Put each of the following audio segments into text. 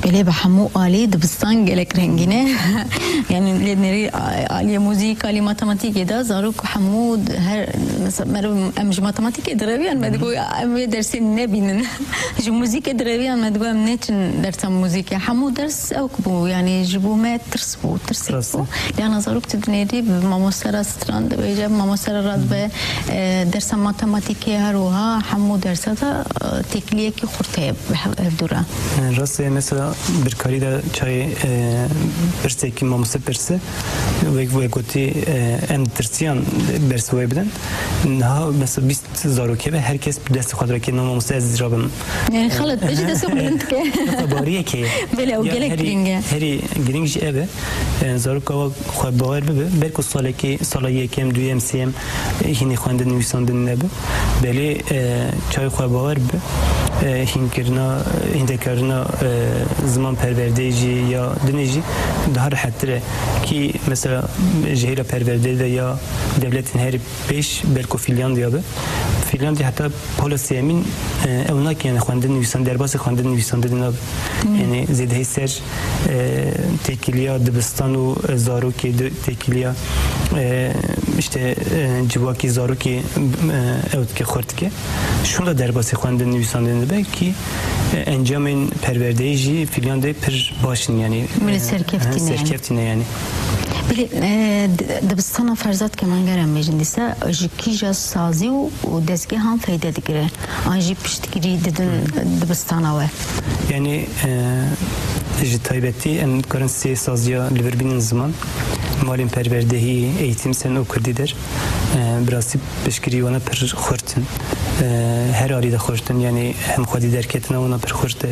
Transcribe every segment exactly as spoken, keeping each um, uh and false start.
Belê, bi hemû alî dibistan gelek rengîn e. Yani lê nerî aliyê muzîk, aliyê matematîkê de zarok hemû her, mesela, meriv em ji matematîkê direviyan me digo em vê dersê nebînin. Ji muzîkê direviyan me digo em neçin dersa muzîkê. Hemû ders ew bû, yani ji bo me tirs bû, tirsek bû. Lê ana zarok tu dinêrî bi mamoste re stran dibêje, bi mamoste re radibe, e, dersa matematîkê her wiha hemû dersa de, e, têkiliyekî xurt heye bi hev-, hevdû re. Rast e, mesela birkarî de çayê, e, pirsekî mamoste pirse, wek, wek gotî, e, em tirsiyan bersiv wê bidin. Niha mesela bîst zarokê be, her kes bi destê xwe direke, no mamoste ez rabim. Yani xelet be, ji destê xwe bilind dike. Bariyekê. Belê, ew gelek girîng e. Herî girîng jî ev e. E, zaroka wa xwe bawer bibe, belku salekê, sala yekem, duyem, sêyem, e, hînî xwendin, nivîsandin nebe. Belê, e, çay xwe bawer bibe, e, hînkirina, hîndekarina, e, ziman perwerdeyê jî ya dinê jî daha rehettir e. Kî mesela ji hêla perwerdeyê de ya dewletên herî pêş belku Fînlandiya be. Fînlandiya heta pola sêyemîn, e, ew nake, yani xwendin nivîsan, derbasî xwendin nivîsandinê nabe. Yani zêdehî ser, e, têkiliya dibistan û, e, zarokê di têkiliya, e, işte, e, civakî zarokê, e, ew dike xurt dike. Şûnda derbasî xwendin nivîsandinê dibe kî, e, encamên perwerdeyê jî Fînlandiyê pir baş in, yani, e, serkevtî ne yani. Belê, e, di-, dibistana ferzat keman geran bêjin dîsa ji kîja sazî û, û dezgehan feyde digire? An jî piştgirî didin dibistana we? Yani, e, ji taybetî em dikarin sê saziya li vir bînin ziman, malên perwerdehî, eğitim sen û kurdî der. E, bi rastî piştgirî wana pir xurt in. E, her alî de xurt in. Yani hem xwedî derketina wana pir xurt e,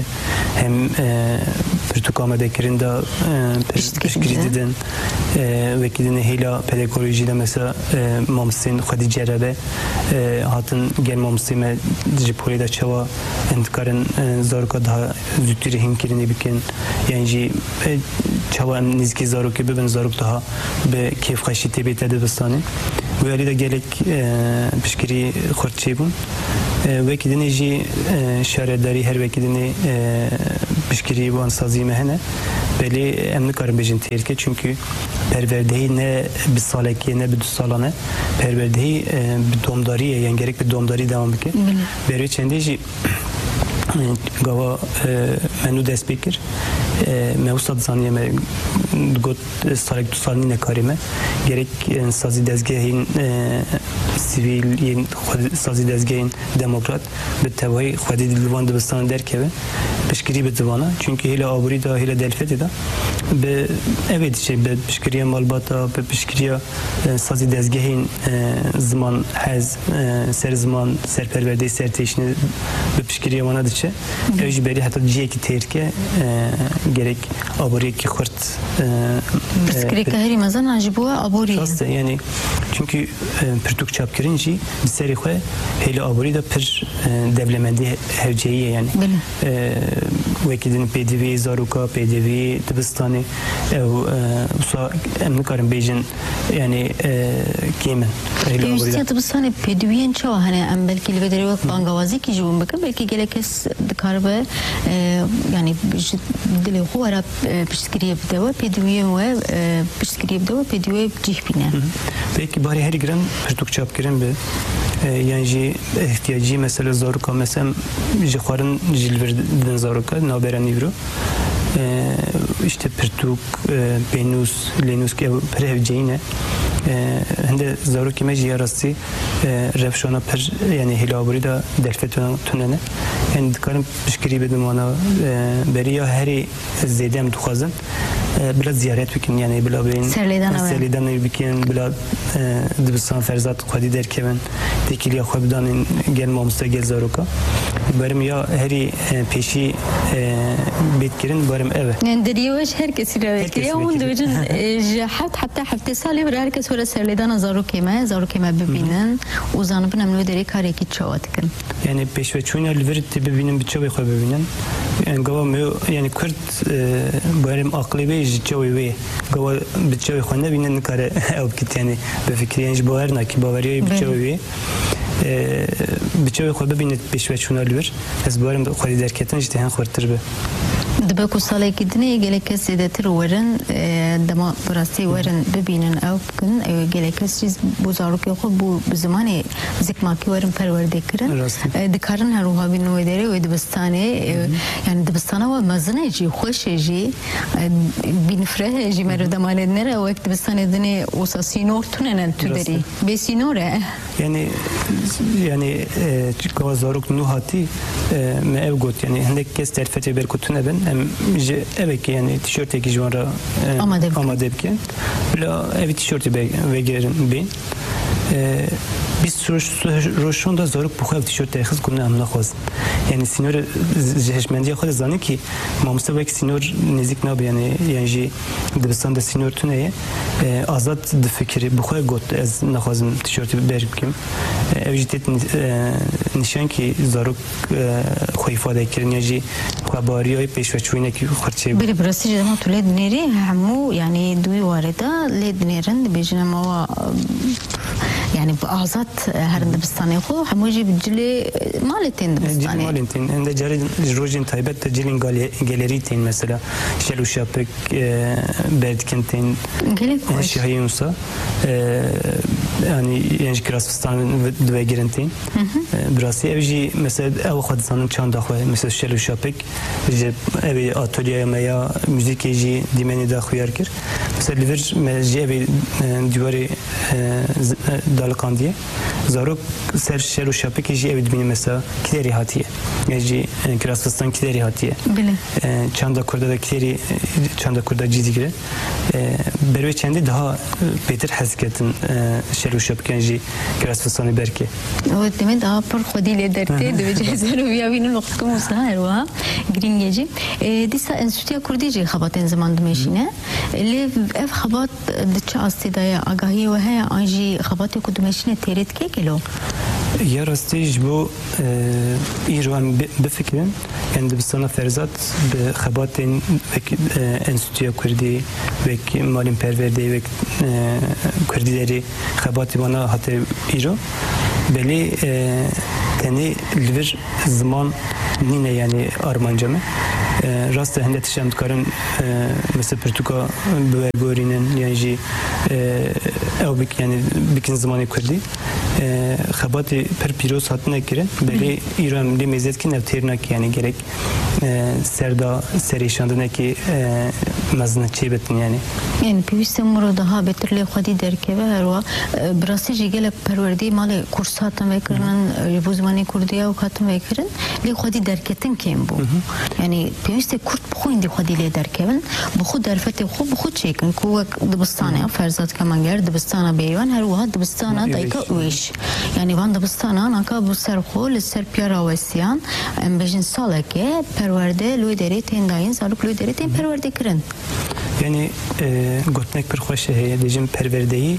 hem, e, pirtûk amadekirin de, e, pir piştgirî didin. E, wekî dinê hêla pedagojî de mesela, e, mamostên xwedî cerebe, e, hatin gel mamostê me ji polê de çawa em dikarin, e, zaroka daha zûtirî hînkirinê bikin, yan jî, e, çawa em nêzîkî zarokê bibin, zarok daha bi kêfxweşî tê bête dibistanê. Wê alî de gelek, e, piştgirî xurt çêbûn. E, wekî dinê jî, e, şaredarî her wekî dinê, e, piştgirî wan sazî me hene. Belê em nikarin bêjin têrke, çunkî perwerdehî ne bi salekê ne bi du salan e. Perwerdehî, e, bi domdarî ye, yan gerek bi domdarî dewam bike. Belê. Berê çendê jî, e, gava, e, me nû dest pê kir. E, me wisa dizaniye, me digot, e, salek du sal nîne karê me. Gerek, e, sazî dezgehên, e, sivîl, yên xwe-, sazî dezgehên demokrat bi tevahî xwedî li van dibistanan derkeve, piştgirî bide vana. Çunkî hêla aborî de, hêla derfetê de bi evê diçe, bi piştgiriya malbata, bi piştgiriya, e, sazî dezgehên, e, ziman, hez, e, ser ziman, ser perwerdeyê, ser têşinê bi piştgiriya wana diçe. Ew jî berî heta cihekî têrke, e, gerek aboriyekî xurt, e, e, pirsgirêka herî mezin a ji bo we aborî ye. Rast e, yani, çunkî, e, pirtûk çapkirin jî bi serê xwe hêla aborî de pir, e, dewlemendî he-, hevceyî ye, yani. Belê. E, wekî din pêdiviyê zaroka, pêdiviyê dibistanê, ew, e, wisa em nikarin bêjin, yani, e, kêm in. Hêla aborî de. Pêwîstiya dibistanê pêdiviyên çawa hene? Em belkî li vê derê wek bangawazîkî ji wan bikin, belkî gelek kes dikaribe, e, yani ji dilê xwe were, e, piştgiriyê bide we, pêdiviyên we, e, piştgiriyê bide we, pêdiviyê cih bîne. Hı hı. Belkî barê herî giran pirtûk çapkirin be, e, yan jî ihtiyacî mesela zaroka, mesela ji xwarin jî li vir didin zaroka, navbera nîvro. E, işte pirtûk, e, pênûs, lênûs ke pir hevceyî ne. E, hinde zarokê me jî ya rastî, e, rewşana pir, yani hêla aborî de derfet tune ne. Yani dikarin piştgirî bidin wana, e, berî ya herî zêde em dixwazin, e, bila ziyaret bikin, yani bila bên serlêdana we. Serlêdanê bikin, bila, e, dibistan ferzat xwedî derkevin, têkiliya xwe bidanên gel mamoste, gel zaroka. Barim ya herî, e, pêşî, e, bêt kirin, barim ev e. Yani deriyê we ji her kesî re wê kiriye. Her kesî wê kiriye. Hûn dibêjin, e, ji heft heta heftê salê bir her kes were serlêdana zarokê me, zarokê me bibînin û zanibin em li wê derê karekî çawa dikin. Yani pêşveçûna li vir tê bibînin, bi çavê xwe bibînin. Yani gava me, yani kurd, e, barim aqilê wê ji çavê wê. Gava bi çavê xwe nebîne nikare ew bikit, yani bifikirî, yani ji bawer nakî, baweriya wê bi çavê wê. E, bi çavê xwe bibîne pêşveçûna li vir. Ez barim bi xwedî derketin jî tê hin xurtir be. Dibe ku salekî dinê gelek kes zêdetir werin, e, dema bi rastî werin bibînin, ew bikin, e, gelek kes jî bo zarokê xwe bû bi zimanê zikmakî werin perwerde kirin. Rastî. E, dikarin her wiha bînin wê derê, wê dibistanê, e, yani dibistana we mezin e jî, xweş e jî, e, bînfireh e jî, meriv dema lê dinêre, wek dibistanê dinê wisa sînor tune ne tu derî. Rastî. Bê sînor e. Yani, yani, e, gava zarok nû hatî, e, me ev got, yani, hindek kes derfetê ber ku tune bin, em ji evekê, yani, tişörtekî ji wan re, e, Amade bikin. Amade bikin. Bila evî tişörtê be-, vegerin bên. E, bîst roj, rojan da zarok bi xwe ev tişört derxist ku ne, em naxwazin. Yani, sînorê ji hişmendiya xwe de zanî ki mamoste wek sînor nêzîk nabe, yani, yani jî dibistan de sînor tune ye. E, azad difikirî, bi xwe got, ez naxwazim tişörtê ber bikim. E, ev jî têt ni-, e, nîşan ki zarok, e, xwe îfade kirin ya jî xwebariya pêşveçûyînekî xurçê bû. Belê, bi rastî jî dema tu lê dinêrî, hemû, yani, di wî warê de lê dinêrin, dibêjin em awa, yani, bi azad, e, herin dibistanê xwe, hemû jî bi cilê, e, malê tên dibistanê. Cilê malên tên. Em de carê ji rojên taybet de cilên gale-, gelerî tên, mesela, şel û şapik, e, berdikin tên, Gelek e, xweş. Şahiyê wisa, e, yani, yên ji kirasfistan ve-, divegirin tên. E, bi rastî ev jî, mesela, ew xwe dizanin çanda xwe, mesela, şel û şapik, ji evê atolyeya me ya muzîkê jî dîmenê de xuyar kir. Mesela, li vir me jî evê, e, dîwarê, e, z-, e, daliqandiye. Zarok ser şel û şapikê jî ew dibînin, mesela, kiderî hatiye. Ya jî, e, kirasfistan kiderî hatiye. Bilê. E, çanda kurda da kiderî, e, çanda kurda cî digire. E, berê çendê daha, e, pêtir hez ketin, e, şel û şapikan jî kirasfistanê berke. Ew demê daha pir xwedî lê dertê, Hı hı. Divê cihê ser û viya bînin wextku musa her wiha girîng e jî. E, dîsa Enstîtuya Kurdî jî xebatên ziman dimeşîne. Lê ev xebat di çi astê de ye? Agahiyê we heye an jî xebatê ku dimeşîne têrê dike gelo? Ya rastî ji bo, e, îro em bi-, bifikirin, yani dibistana Ferzat bi xebatên wek, e, Enstîtuya Kurdî, wek malên perwerdeyê, wek, e, Kurdî derê xebatê wana hate îro. Belê, e, tenê li vir ziman nîne, yani armanca me. E, rast e, hinde tişt em dikarin, e, mesela pirtûka bi we gorînin, yan jî, e, ew bik-, yani bikin zimanê kurdî. E, xebatê pir pîroz hatine kirin, belê îro em lê mêze dikin, ev têr nake, yani gerek, e, ser da serêşandinekî, e, mezin çêbitin, yani. Yani pêwîst e miro daha bêtir lê xwedî derkeve herwa. E, bi rastî jî gelek perwerdeyê malê kurs hatin vekirinin, e, ji bo zimanê kurdî ew hatin vekirin, lê xwedî derketin kêm bû. Hı hı. Yani pêwîst e kurd bi xwe hindî xwedî lê derkevin, bi xwe derfetê xwe bi xwe çêkin, ku wek dibistanê, Hı hı. Ferzat Kemanger, dibistana Bêrîvan, her wiha dibistana Hı, Dayika Ûêş. Ûêş. Yani van dibistana naka bi ser xwe li ser piyara wesiyan, em bêjin saleke perwerde li wê derê tên dayîn, zarok li wê derê tên perwerde kirin. Yani, e, gotinek pir xweş heye, dibêjin perwerdeyî,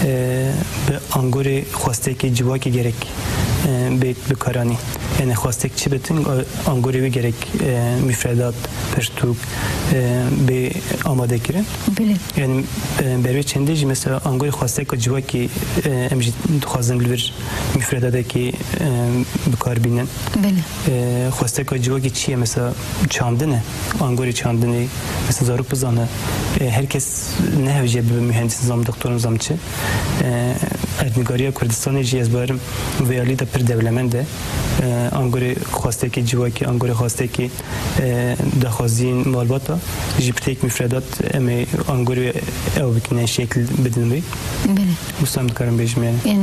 e, bi angorê xwestekê civakê gerek, e, bê bikaranî. Yani xwestek çi bitin, e, angorê wê gerek, e, mufredat, pirtûk, e, bê amade kirin. Bilê. Yani, e, berê çendê jî mesela angorê xwesteka civakê, e, em jî dixwazin li vir mufredatekî, e, bi kar bînin. Belê. E, xwesteka civakê çi ye? Mesela çandin e, angorê çandinê, mesela zarok bizane. E, her kes nehewce bibe mühendis, nizam doktor, nizam çi. E, erdnîgariya Kurdistanê jî ez barim vê alî de pir dewlemend e. E, angorê xwestekî civakê, angorê xwestekî, e, daxwaziyên malbata jî bi têk mufredat em ê angorê ew bikine şekil bidin wê. Belê. Wisa em dikarin bêjim yani. Ên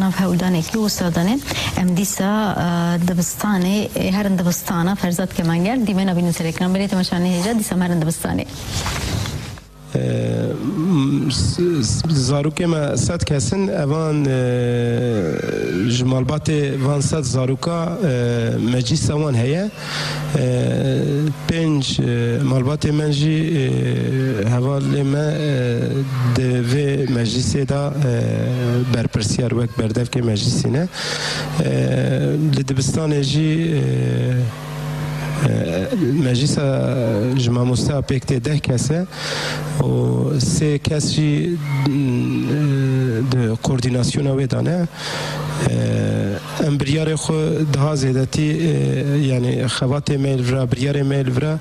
nav hewldanekî wisa dane. Em dîsa, e, dibistanê, e, herin dibistana Ferzat Kemanger, dîmena bînin serekiran. Belê temaşanê hêja, dîsa em herin dibistanê. E, m-, s-, s-, zarokê me sed kesin, evan, e, ji malbatê van sed zaroka, e, meclîsa wan heye. E, pênc, e, malbatê me jî, e, hevalê me, e, di vê meclîsê de, e, berpirsiyar wek berdevkê meclîsî ne. E, li dibistanê jî, e, e, meclîsa ji mamosteya pêk tê deh kes e û sê kes jî, e, di koordînasyona wê de ne. E, em biryarê xwe daha zêdetî, e, yanî xebatê me li vira, biryarê me li vira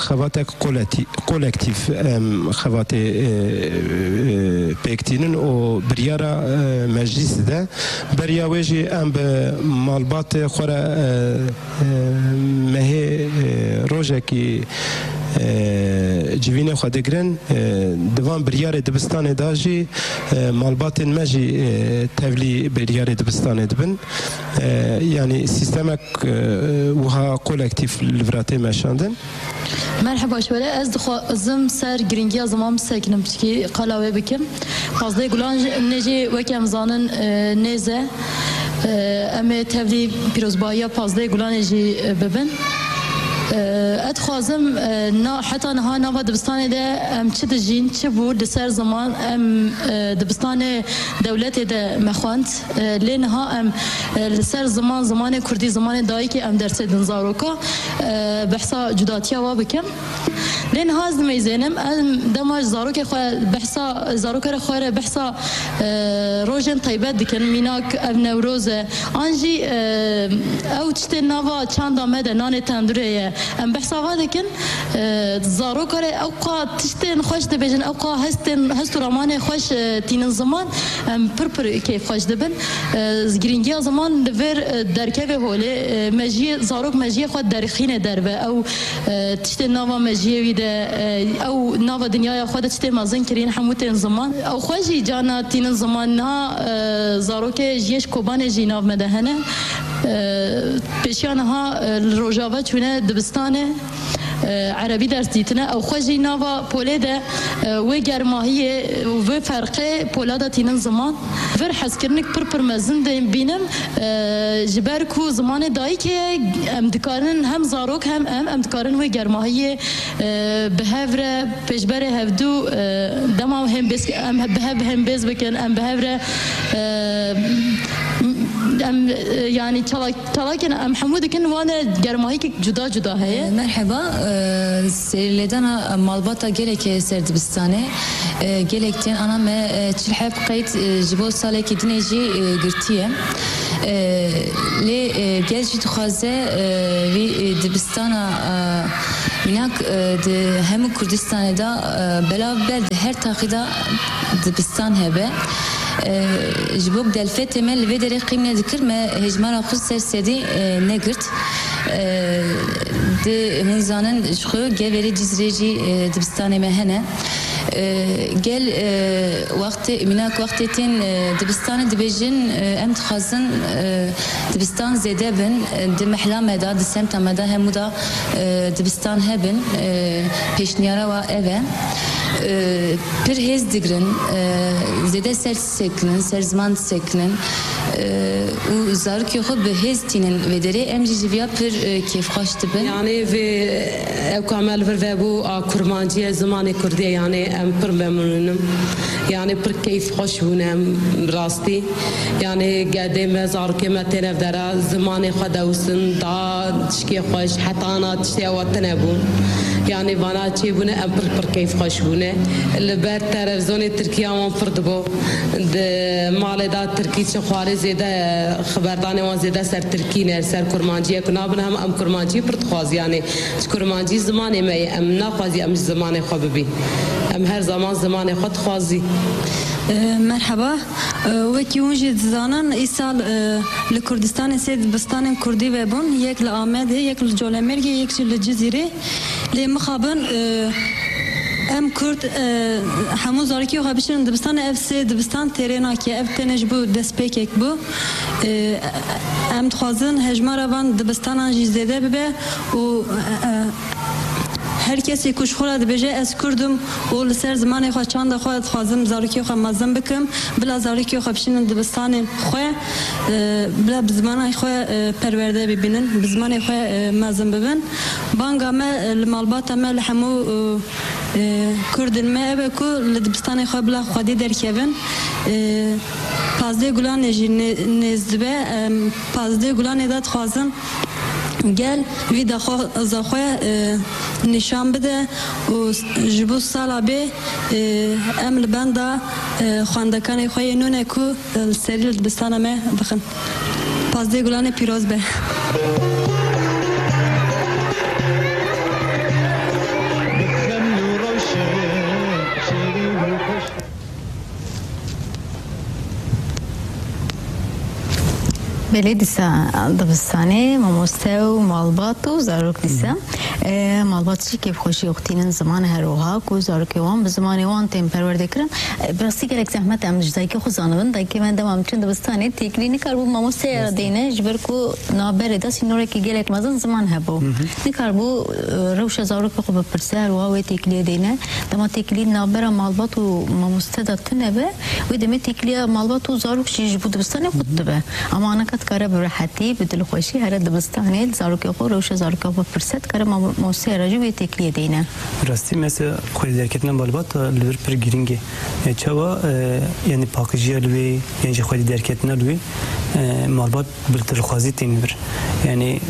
xebatek koleti-, kolektîf em xebatê, e, e, pêk tînin û biryara, e, meclîsê de. Beriya wê jî em bi malbatê xwe re, e, e, mehê, e, rojekî, e, civînê xwe digirin. E, di van biryarê dibistanê de jî, e, malbatên me jî, e, tevlî biryarê dibistanê dibin. E, yanî sîstemek, e, wiha kolektîf li vira tê meşandin. Merheba ji we re. Ez dixwazim ser girîngiya ziman bisekinim, piçkî qala wê bikim. Pazdeh Gulan jî, nê jî weke em zanin, e, nêz e. E, em ê tevlî pîrozbahiya Pazdeh Gulanê jî, e, bibin. E, ez dixwazim, e, na, heta niha nava dibistanê de em çi dijîn, çi bû li ser ziman, em, e, dibistanê dewletê de me xwend. E, lê niha em, e, li ser ziman, zimanê kurdî, zimanê dayikê em dersê din zaroka. E, behsa cudatiya wa bikim. Lê niha ez dimeyzênim, em dema ji zarokê xwe behsa, zarokê re xwe re behsa, e, rojên taybet dikin, mînak ev Newroz e, an jî, e, ew tiştên nava çanda me de, nanê tendurê ye. Em behsa va dikin, e, zarokê re ew qa tiştên xweş dibêjin, ew qa hestên, hest û ramanê xweş, e, tînin ziman, em pir pir keyfxweş dibin. E, girîngiya ziman li vir, e, derkeve holê, e, mejiyê, zarok mejiyê xwe derxîne derve. Ew, e, tiştên nava mejiyê wî de, e, ew nava dinyaya xwe de tiştê mezin kirîn hemû tên ziman. Ew xwe jî carna tînin ziman. Niha, e, zarokê ji yê ji Kobanê jî nav me de hene. E, pêşiya niha, e, li Rojava çûne dibistanê. E, erebî ders dîtine. Ew xwe jî nava polê de, e, wê germahiyê û vê ferqê pola de tînin ziman. Vir hezkirinik pir pir mezin dê bînim. E, ji ber ku zimanê dayikê ye, em dikarin hem zarok hem em, em dikarin wê germahiyê, e, bi hev re pêşberê hevdû, e, dema hembêz, em bi hev hembêz bikin, em bi hev re, e, em, e, yanî çalak Çalakên em hemû dikin, wan de germahîkek cuda cuda heye. E, merheba, e, serîlêdana malbata gelekê ser dibistanê. E, gelek tên ana me, e, çil heb qeyd, e, ji bo salekî dinê jî, e, girtiye. E, lê, e, gel jî dixwaze, e, vî, e, dibistana, e, mînak, e, di hemû Kurdistanê de, e, belav be di her taxî de dibistan hebe. E, ji bo delfetê me li vê derê qîm nedikir, me hejmara xwe ser sedî, e, negirt. E, di hûn zanin ji xwe Geverê Cizrê jî, e, dibistanê me hene. E, gel, e, wextê, mînak wextê tên, e, dibistanê dibêjin, e, em dixwazin, e, dibistan zêde bin, e, di mehla me de, di semta me de hemû de, e, dibistan hebin, e, pêşniyara wa ev e. E, pir hêz digirin, e, zêde ser disekinin, ser ziman disekinin, e, û zarokê xwe bi hêz tînin vê derê. Em jî ji viya pir, e, kêfxweş dibin. Yanî vê ew ka me li vir vebû a kurmancî ye, zimanê kurdî ye, yanî em pir memnûn in. Yanî pir keyfxweş bûne em rastî. Yanî gedê me, zarokê me tên ev dera zimanê xwe dewsin, da tişkê xweş, heta ana tiştê ewa tine bûn. Yanî vana çêbûne em pir pir keyfxweş bûne. Li ber televîzyonê tirkiya wan pir dibo. Di malê de tirkî çi xwarê zêde, xiberdanê wan zêde ser tirkî ne, ser kurmancî ye ku nabin hem em kurmancî pir dixwazî. Yanî ji kurmancî zimanê me ye, em naxwazî em ji zimanê xwe bibî. Em her zaman zimanê xwe dixwazî. E, merheba. E, wekî hûn jî dizanin, îsal, e, li Kurdistanê sê dibistanên kurdî vebûn, yek li Amedê, yek li Colemêrgê, yek jî li Cizîrê. Lê mixabin, e, em Kurd, e, hemû zarokê xwe bişînin dibistanê, ev sê dibistan têrê nake. Ev tenê ji bo destpêkek bû. E, em dixwazin hejmara van dibistanan jî zêde bibe û, e, e, her kesê ku ji xwe re dibêje, "Ez Kurd im û li ser zimanê xwe, çanda xwe dixwazim zarokê xwe mezin bikim", bila zarokê xwe bişînin dibistanên xwe, e, bila bi zimana xwe, e, perwerde bibînin, bi zimanê xwe, e, mezin bibin. Banga me, e, li malbata me, li hemû, e, e, Kurdên me ew e ku li dibistanê xwe bila xwedî derkevin. E, Pazdeh Gulanê jî nê-, nêz dibe. Em, Pazdeh Gulanê de dixwazin gel vî daxwaza xwe, e, nîşan bide û ji bo sala bê, e, em li benda, e, xwendekanê xwe yê nûne ku, e, li serî li dibistana me bixin. Pazdeh Gulanê pîroz be. Belê dîsa dibistanê mamoste û malbat û zarok dîsa. E, malbat jî kêfxweşî xwe tînin ziman her wiha ku zarokê wan bi zimanê wan tên perwerde kirin. E, bi rastî gelek zehmet e em ji dayikê xwe zanibin. Dayikê me dema em çûn dibistanê têkilî nikarbû mamosteya re deyne ji ber ku navberê de sînorekî gelek mezin ziman hebû. Nikarbû, e, rewşa zarokê xwe bipirse, her wiha wê têkiliyê deyne. Dema têkilî navbera malbat û mamoste de tune be, wê demê têkiliya malbat û zarok jî ji bo dibistanê xurt dibe. Ama anaka dikare bi rehetî, bi dilxweşî here dibistanê, li zarokê xwe, rewşa zarokê xwe bipirse, dikare mam-, mamosteya re jî wê têkiliyê deyne. Rastî mesela xwedî derketina malbata li vir pir girîng e. E, çawa, e, yani paqijiya li wê, yan jî xwedî derketina li wê, e, malbat bi dilxwazî tên vir. Yani,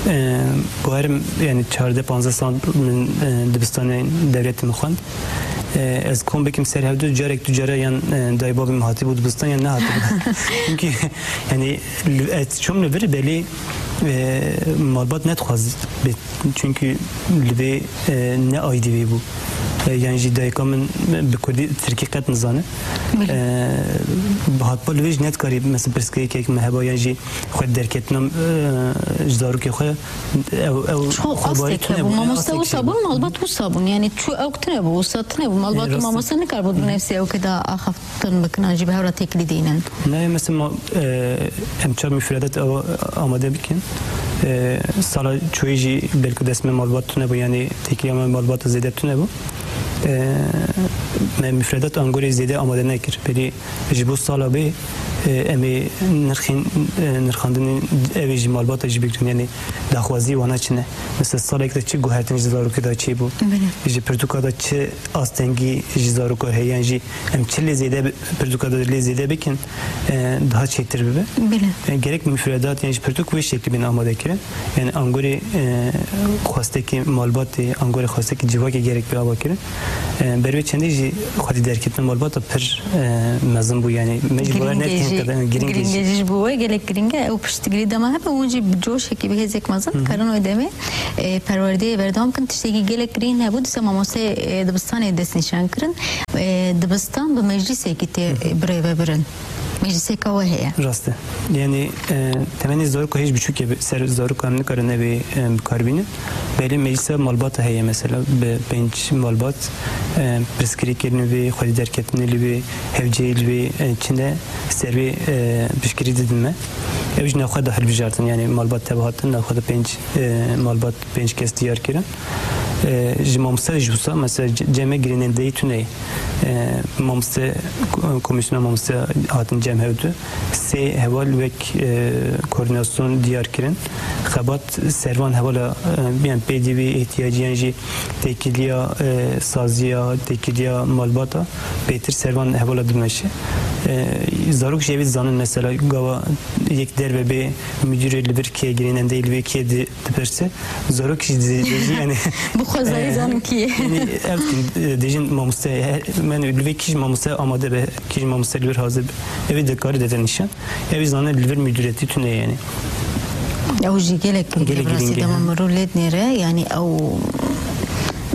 e, bawerim, yani çardeh panzdeh sal min, e, dibistanê dewletê min xwend. E, ez kom bikim ser hevdu, carek du cara yan, e, dayê babê min hatibû dibistan yan nehatibû. Çünkü yani li, ez çûm li vir belê, e, malbat nedixwaz bê. Çünkü li vê, e, ne aîdî wê bû. E, yan jî dayika min bi kurdî, tirkî qet nizane. Belê. E, hatba li vê jî nedikarî mesela pirsgirêkek me heba yan jî xwe derketina, e, ji zarokê xwe ew, ew Ço xwebarî asteke tune bû, bû, mamoste asteke wisa bû. Bûn, malbat wisa bûn. Yani çu ew tune bû, wisa tune bû. Malbat E, û rast e. mamoste nikarbû bi nefsê ew ke da axaftin bikin, an jî bi hev re têkilî deynin. Ne, mesela ma, e, em çar müfredat ew amade bikin. E, sala çoyî jî belkî dest me malbat tune bû, yani têkiliya me malbat zêde tune bû. E, me müfredat angorê zêde amade nekir. Belî ji bo sala bê, e, em ê nirxên, e, nirxandinên ev ê ji malbata jî bigirin, yani daxwazî wana çi ne? Mesela salek de çi guhertin ji zarokê de çêbû? Belê. Ji pirtûka de çi astengî ji zaroka heye? Yan jî em çi lê zêde bi-, pirtûka de lê zêde bikin, e, daha çêtir bibe? Belê. E, gerek mufredat yan jî pirtûk wê şeklî bên amade kirin. Yani angorê, e, xwestekê malbatê, angorê xwestekê civakê gerek bê ava kirin. E, ber wê çendê jî xwedî derketina malbata pir, e, mezin bû. Yani me jî bawer Girîng e nekir jî, qeden, girîng e girîng jî. e jî ji bo we gelek girîng e. Ew piştgirî dema hebe hûn jî bi coşekî, bi hêzek mezin Hı hı. dikarin wê demê, e, perwerdeyê berdewam kin. Tiştekî gelek girîng hebû, dîsa mamosteyê, e, dibistanê destnîşan kirin. E, dibistan bi meclîsekî tê, Hı hı. e, birêve birin. Meclîseka we heye. Rast e. Yani, e, temenê zaroka hêj biçûk e, ser zaroka em nikarin evê, e, bi kar bînin. Belê meclîsa malbata heye mesela, bi pênc malbat, e, pirsgirêkê li vê, xwedî derketinê li vê, hevceyê li vê, e, çi ne ser vê, e, piştgirî didin me. Ew jî navxwe de hilbijartin, yani malbat tev hatin, navxwe de pênc, e, malbat pênc kes diyar kirin. E, ji mamoste jî wisa, mesela ce-, cem me girênendeyî tune ye. E, mamoste, ko-, komîsyona mamoste hatin cem hevdu. Sê heval wek, e, koordinasyon diyar kirin. Xebat servan hevala, e, yani pêdivî, ihtiyacî yan jî têkiliya, e, saziya, têkiliya malbata bêtir servan hevala dimeşe. E, zarok jî evî zanin mesela gava yek derve bê müdürê li vir kê girênendeyî li vê kê di-, dipirse. Zarok jî di-, dibêjî yani. Bi xwezayî E, zanin kî ye. yani ev dikin, e, dêjin mamoste, he, men li vê kî jî mamoste amade be, kî jî mamoste li vir hazir be. Evî dikarî dete nîşan. Evî zane li vir müdüretî tune yani. Ew jî gelek Gelek girîng e, rastî girîng e, dema ha. mirov lê dinêre, yani ew,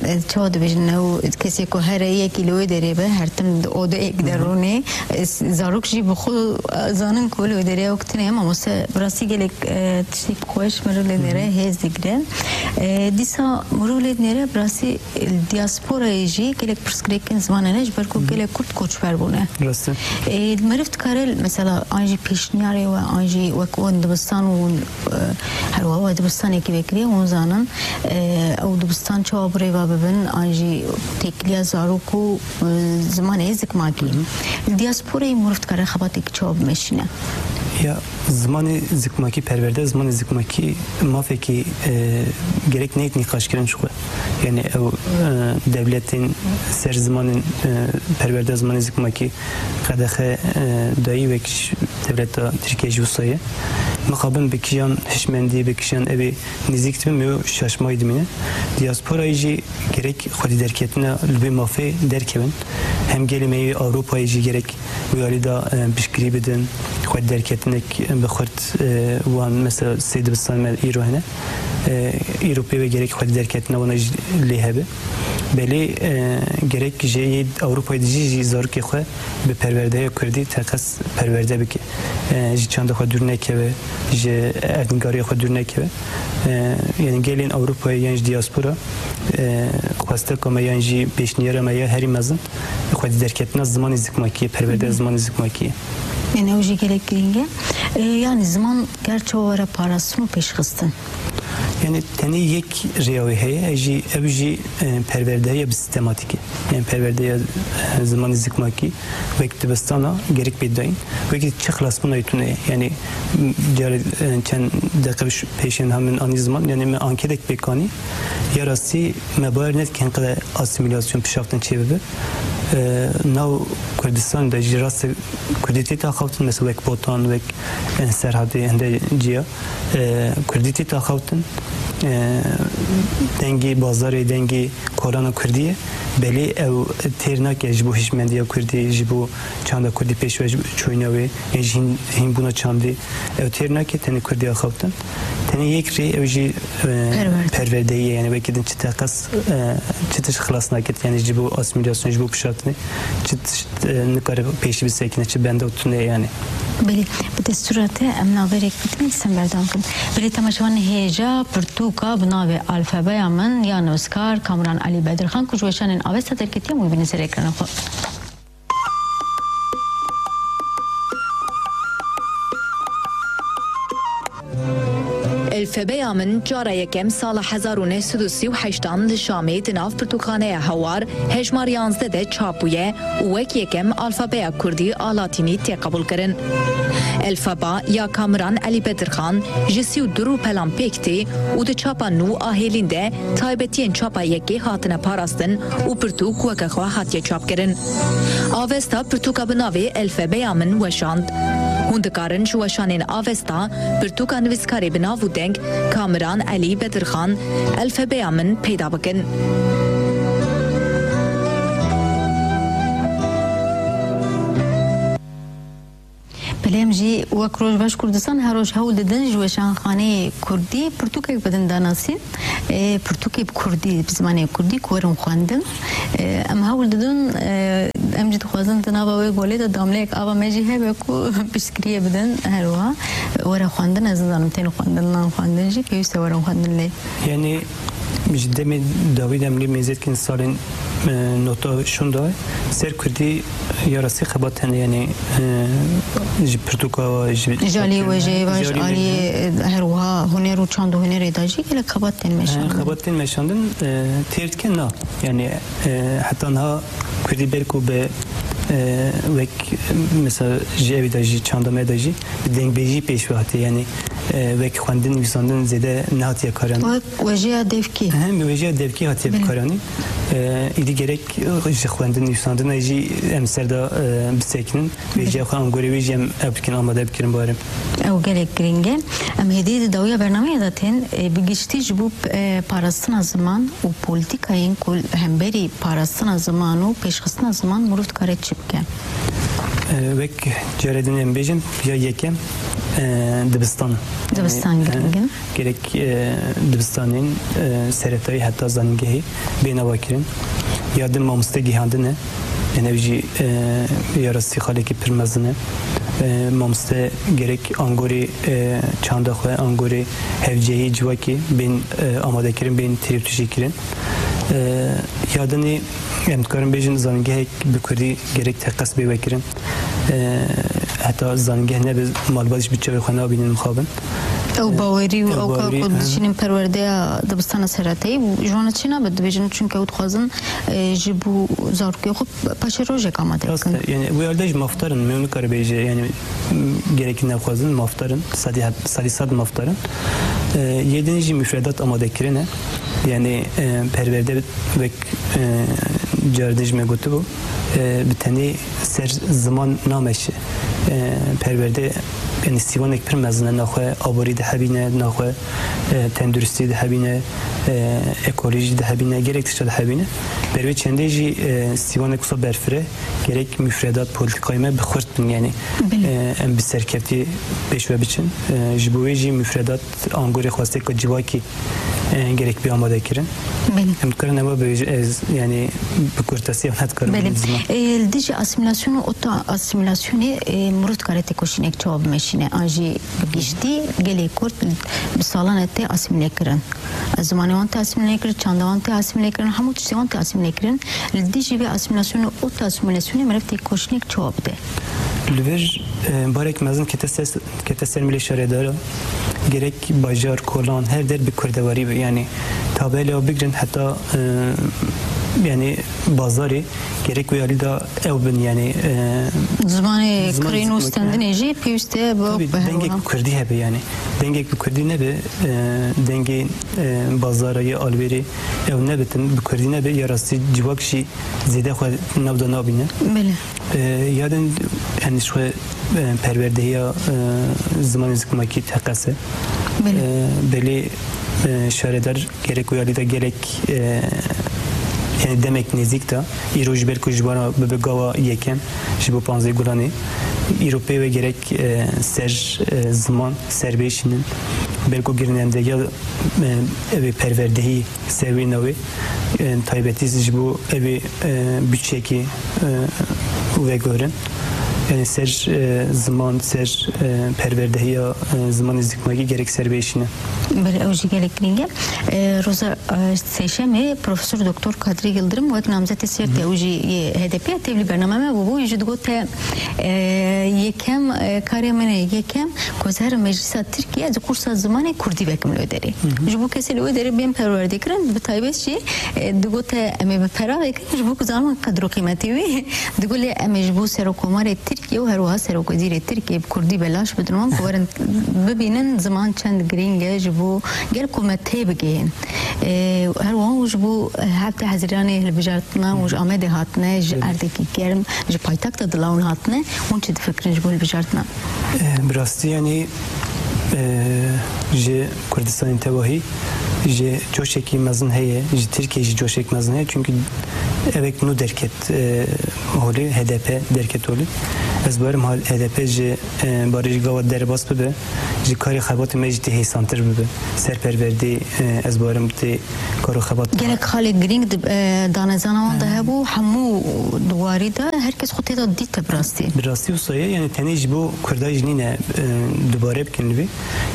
e, çawa dibêjin, ew kesê ku here yekî li wê derê be, her tim di odeyek de Hı hı. rûnê, e, s-, zarok jî bi xwe, e, zanin ku li wê derê ew tune ye, mamoste bi rastî gelek, e, tiştê xweş mirov lê dinêre, Hı hı. hêz digire. E, dîsa mirov lê dinêre bi rastî, e, diasporayê jî gelek pirsgirêkên ziman hene, ji ber ku Hı hı. gelek Kurd koçber bûne. Rast e. E, meriv dikare mesela an jî pêşniyarê we, an jî wek wan dibistan û, e, her wiha we dibistanekî vekiriye, hûn zanin, e, ew dibistan çawa birêve bibin, an jî têkiliya zarok û, e, zimanê zikmakî. Hı hı. Li diasporayê meriv dikare xebatêk çawa bimeşîne? Ya, zimanê zikmakî, perwerde zimanê zikmakî mafekî, e, gerek neyt nîqaşkirin ji xwe. Yani ew, e, dewletên ser zimanên, e, perwerde zimanê zikmakî qedexe, e, dayî wek ji dewleta Tirkiye jî wisa ye. Mixabin bi kijan hişmendî, bi kijan evê nêzîk dibin, me yo şaşmayî dimîne. Diyasporayê jî gerek xwedî derketina li vê mafê derkevin. Hem gelê me yê Ewropayê jî gerek wê alî de, e, piştgirî bidin. Xwedî derketinek bi xurt, e, wan mesela sê dibistan me îro hene. E, îro pê ve gerek xwedî derketina wana jî lê hebe. Belê, e, gerek jê yê Ewropayê dijî jî zarokê xwe bi perwerdeya kurdî teqez perwerde bike. E, ji çanda xwe dûr nekeve, ji erdnîgariya xwe dûr nekeve. E, yani gelên Ewropayê yan ji diaspora, e, xwesteka me yan jî pêşniyara me ya herî mezin xwedî derketina zimanê zikmakî ye, perwerdeya zimanê zikmakî ye. Yani ew jî gelek girîng e. E, yani ziman ger çawa were parastin û pêşxistin? Yani tenê yek rêya wê heye, ev jî, ev jî, e, perwerdeya bi sîstematîk e. Yani perwerdeya, e, zimanê zikmakî wek dibistana gerek bê dayîn. Wekî çi xilasbûna tune ye. Yani, m, carê, e, çend deqe pêş-, pêşên ha min anî ziman, yani me anketek pêk anî. Ya rastî me bawer nedikin qede asîmîlasyon pişaftin çêbibe. E, nav Kurdistan de jî rastî Kurdî tê axaftin, mesela wek Botan, wek, e, Serhatê hinde ciya. E, Kurdî tê axaftin. E, dengê bazarê, dengê kolana Kurdî ye. Belê ew têr nake ji bo hişmendiya Kurdî, ji bo çanda Kurdî pêşve, ji bo çûyîna wê, ên ji hîn, hînbûna çandê. Ew têr nake tenê Kurdî axaftin. Tenê yek rê ew jî, e, Perwerde. Perwerdeyî ye. Yani wekî din çi teqez, e, çi tişt xilas nakir. Yani ji bo asîmîlasyon, ji bo pişatinê, çi tişt, e, nikare pêşî bisekine, çi benda tune yani. Belê, bi destûra te em navberek bitin, dîsa em berdewam bikin. Belê, temaşevan, hêja pirtûka bi navê Alfabeya Min ya nivîskar Kamran Elî Bedirxan ku ji weşanên Avesta derketiye, em wî bînin ser ekranê xwe. Elfebeya Min cara yekem sala hezar û neh sed û sî û heştan li Şamê di nav pirtûkxaneya Hewar hejmar yanzdeh de çap bûye û wek yekem alfabeya Kurdî a Latînî tê qebûlkirin. Elfaba ya Kamiran Elî Bedirxan ji sî û du rûpelan pêk tê û di çapa nû a hêlîn de taybetiyên çapa yekê hatine parastin û pirtûk weke xwe hatiye çapkirin. Avesta pirtûka bi navê Elfebeya Min weşand. Hûn dikarin ji weşanên Avesta pirtûka nivîskarê bi nav û deng Kamiran Elî Bedirxan, Elfebeya Min peyda bikin. Belê, em jî wek Rojbaş Kurdistan her roj hewl didin ji weşanxaneyê Kurdî pirtûkek bidin danasîn. Ê, pirtûkê bi Kurdî, bi zimanê Kurdî ku werin xwendin. Ê, em hewl didin, ê, em jî dixwazin di nava wê golê de damleyek ava me jî hebe ku piştgiriyê bidin her wiha. Were xwendin, ez nizanim tên xwendin, nan xwendin jî pêwîst e werin xwendin lê. Yani ji demê dawî de em lê mêze dikin salên, e, nota şûnda ser Kurdî ya rastî xebat hene, yani, e, ji pirtûka, ji Ji aliyê wêjeyê ve, ji aliyê, e, her wiha huner û çand û hunerê de jî gelek xebat tên meşandin. He, xebat tên meşandin, e, têr dike na. Yani, e, heta niha Kurdî belku bi, e, wek, mesela ji evî de jî, çanda me de jî bi dengbêjî pêş ve hatiye. Yani, e, wek xwendin, nivîsandin zêde nehatiye karan. Wek wêjeya devkî. Hem wêjeya devkî hatiye bikaranîn. E, îdî gerek ji xwendin, nivîsandina jî em ser de, e, bisekinin. Wêjeya xwe, angorê wê jî em ev bikin, amade bikirin barim. Ew gelek girîng e. Em hêdî di dawiya bernameyê de tên, e, bi giştî ji bo, e, parastina ziman û polîtîkayên ku li hemberî parastina ziman û pêşxistina ziman mirov dikare çi bike? E, wek carê din em bêjin, ya yekem, e, dibistan. Dibistan, yani, girîng in. Gerek, e, dibistanên, e, seretayî heta zanîngehê bê nava kirin. Ya din mamoste gihandin e. Yani ev jî, e, ya rastî xalekî pir mezin e. E, mamoste gerek angorê, e, çanda xwe, angorê hevceyî civakê bên, e, amade kirin, bên têrî tûjî kirin. E, ya dinê em dikarin bêjin zanîngehek bi kurdî gerek teqez bê vekirin. E, heta zanîngeh nebe malbat jî bi çavê xwe nabînin mixabin. Ew bawerî û ew ka ku dişînin perwerdeya dibistana seretayî û ji wan re çi nabe dibêjin, çunke ew dixwazin, e, ji bo zarokê xwe paşerojek amade bikin. Rast e, yani wê alde jî mafdar in, me nikare bêje, yani, m, gerekî nexwazin, mafdar in, sedî het-, sedî sed mafdar in. E, yê din jî mufredat amade kirine. Yani, e, perwerde wek, e, caridin jî me gotibû, e, bi tenê ser ziman nameşe. E, perwerde yanî sîwanek pir mezin e, naxwe aborî dihebîne, naxwe, e, tenduristî dihebîne, e, ekolojî dihebîne, gelek tişta dihebîne. Ber wê çendê jî, e, sîwanek wisa berfireh e, gerek mufredat, polîtîkayê me bi xurt bin, yanî, Belê. e, em bi serkeftî pêş ve biçin. E, ji bo wê jî mufredat, angorê xwesteka civakî, e, gerek bê amade kirin. Belê. Em dikarin eva bêjin, ez, yanî, bi kurtesî ev ne dikarim Belê. bêjim ziman. E, li dijî asîmîlasyonê û ota asîmîlasyonê, e, mirov dikare têkoşînek çawa bimeşîne? An jî bi giştî gelê Kurd bi salan e tê asîmîle kirin. Zimanê wan tê asîmîle kirin, çanda wan tê asîmîle kirin, hemû tiştê wan tê asîmîle kirin. Li dijî vê asîmîlasyonê û ota asîmîlasyonê mirov têkoşînek çawa bide? Li vir, e, barek mezin kete ser, kete ser milê şaredara. Gerek bajar, kolan, her der bi kurdewarî be. Yanî tabela bigrin heta, e, yanî bazarê gerek wê alî de ew bin, yanî, e, Zimanê zimanê kirî zimanê nûstendinê jî pêwîst e bi Tabii, bi her dengek wiha. bi kurdî hebe, yanî. Dengek bi kurdî nebe, e, dengê, e, bazara ya alvêrê ew nebitin, bi kurdî nebe, ya rastî civak jî zêde xwe nav de nabîne. Belê. E, ya din, yanî, ji xwe, e, perwerdehiya, e, zimanê zikmakî teqese. Belê. E, belê, e, şaredar gerek wê alî de gelek, e, yanî, demek nêzîk de, îro ji ber ku ji wana bibe gava yekem ji bo panzdeh Gulanê, îro pê ve gerek, e, ser, e, ziman serbêşînin. Belko girînendehiya, e, ev ê perwerdehî ser wê navê, e, taybetî ji bo ev ê, e, budçeyekî, e, veguherin. Yanî ser, e, ziman, ser, e, perwerdehiya, e, zimanê zikmakî gerek serbêşîne. Belê, ew jî gelek girîng e. E, roza, e, sêşemê Profesor Doktor Kadrî Yildirim wek namzetê Sêrtê, ew jî yê H D P ya tevlî bername me bûbû, wî jî digote, e, yekem, e, karê min e, yekem ku ez herim meclisa Tirkiye, ez ê kursa zimanê kurdî vekim li wê derê. Ji bo kesê li wê derê bên perwerdekirin, bi taybet jî, e, digote em ê bi pera vekin, ji bo ku zanin qedr û qîmetê wî. Digo lê em ê ji bo Serokomarê Tirkiye û her wiha Serokwezîrê Tirkiye bi kurdî belaş bidin wan ku werin bibînin ziman çend girîng e ji bo gel ku me tê bigihên. E, her wiha û ji bo hevdeh Hezîranê hilbijartina û ji Amedê hatine, ji erdekî germ, ji paytexta dila hûn hatine, hûn çi difikirin ji bo hilbijartina? E, bi rastî, yanî, e, ji Kurdistanê tevahî jî coşekî mezin heye, ji Tirkiyê jî coşek mezin heye, çunkî evek nû derket, e, holê, H D P derket holê. Ez bawerim hal H D P ji, e, barê ji gava derbas bibe, ji karê xebatê me jî tê hêsantir bibe. Ser perwerdê, e, ez bawerim tê kar û xebat Gelek xalê girîng di, e, danezana wan de hebû, hemû di warî de her kes xwe tê de dît bi rastî. Bi rastî wisa ye, yanî tenê ji bo Kurda jî nîne, e, dubare bikin li vê.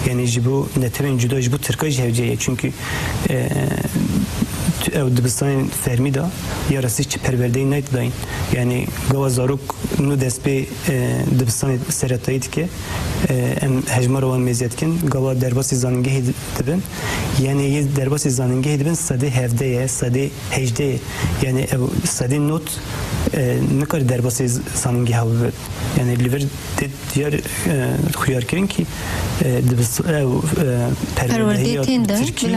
Yanî ji bo netewên cuda, ji bo Tirka jî hewce ye. Çunkî, e, tu-, ew dibistanên fermî de ya rastî çi perwerdeyê nayt dayîn. Yanî gava zarok nû dest pê, e, dibistanê seretayî dike. E, em hejmara wan mêze dikin. Gava derbasî zanîngehê di-, dibin. Yanî yê derbasî zanîngehê dibin sedê hevdeh ye, sedê hejdeh ye. Yanî ev sedê not, e, nikare derbasî z-, zanîngeha bibe. Yanî li vir tê diyar, e, xuyarkirin kî, e, dibis-, ew, e, perwerdehiya Perwerdeyê tên de, Tirkî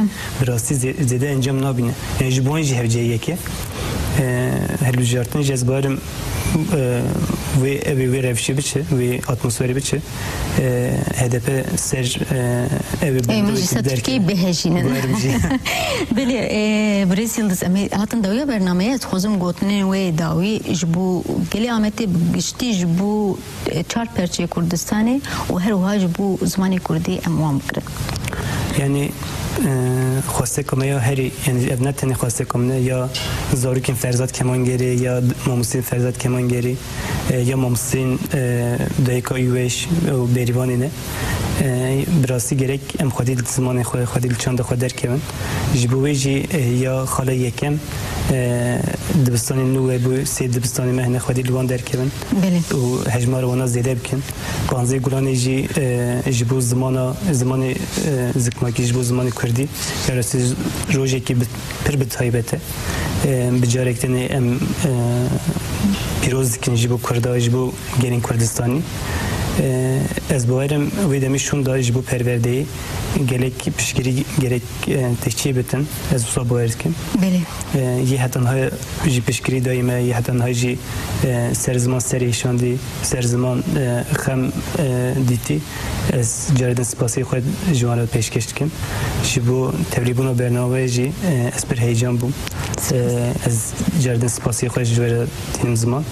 bi rastî zê-, zêde encam nabîne. Yanî ji bo wan jî hewce yek e. E, hilbijartin jî ez bawerim, e, wê, ev ê wê rewşê biçe, wê atmosferê biçe. E, H D P ser, e, ev ê Ê, meclisa Tirkiyeyê bihejînin. Bawerim jî. Belê, e, Birêz Yildiz, em ê hatin dawiya bernameyê, ez dixwazim gotinên wê dawî ji bo gelê Amedê bi giştî, ji bo, e, çar perçeyê Kurdistanê û her wiha ji bo zimanê kurdî em wan bigirin. Yanî, e, xwesteka me ya herî, yanî ev ne tenê xwesteka min e, ya zarokên Ferzad Kemangerê, ya mamosteyên Ferzad Kemangerê, e, ya mamosteyên, e, Dayika Üweş û Bêrîvanê ne. E, bi rastî gerek em xwedî li zimanê xwe, xwedî li çanda xwe derkevin. Ji bo wê jî, e, ya xala yekem, e, dibistanên nû hebû, sê dibistanê me hene, xwedî li wan derkevin Belê. û hejmara wana zêde bikin. Panzdeh Gulanê jî, e, ji bo zimana, zimanê, e, zikmakî, ji bo zimanê kurdî, ya rastî rojekî bi-, pir bi taybet e. E, bi carek tenê em, e, pîroz dikin ji bo Kurda, ji bo gelên Kurdistanî. E, ez bawerim wê demê şûnda ji bo perwerdeyê gelek piştgirî gerek, e, tê çê bitin. Ez wisa bawer dikim. Belê. E, yê heta niha jî piştgirî dayî me, yê heta niha jî, e, ser ziman serê hişandî, ser ziman, e, xem, e, dîtî. Ez caredin spasiyê xwe ji wan re pêşkêş dikim. Ji bo tevlîbûna bernameyê jî, e, ez pir heyecan bûm. E, ez caredin spasiyê xwe ji we re tînim ziman.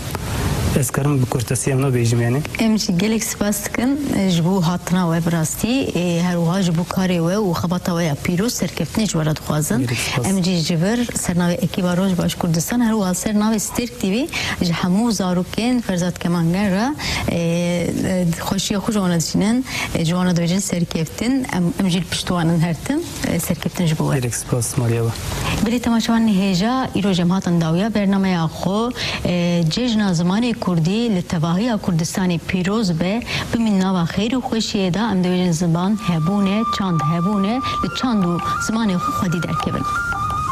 Ez karim bi kurtesî em nabêjim yani. Em jî gelek spas dikin, e, ji bo hatina we bi rastî, e, her wiha ji bo karê we û xebata we ya pîroz serkeftinê ji we re dixwazin. Gelek spas. Em jî ji vir ser navê Ekîba Roj Baş Kurdistan, her wiha ser navê Stêrk T V ji hemû zarokên Ferzad Kemangen re, e, e, xweşiya xwe ji wan re dişînin, e, ji wan re dibêjin serkeftin. Em, em jî li pişt wan in her tim, e, serkeftin ji bo we. Gelek spas Mariya we. Belê temaşevanên hêja, îro jî em hatin dawiya bernameya xwe. E, Cejna Zimanê Kurdî li tevahiya Kurdistanê pîroz be. Bimîn nava xêr û xweşiyê de, em dibêjin ziman hebûne, çand hebûne, li çand û zimanê xwe xwedî derkevin.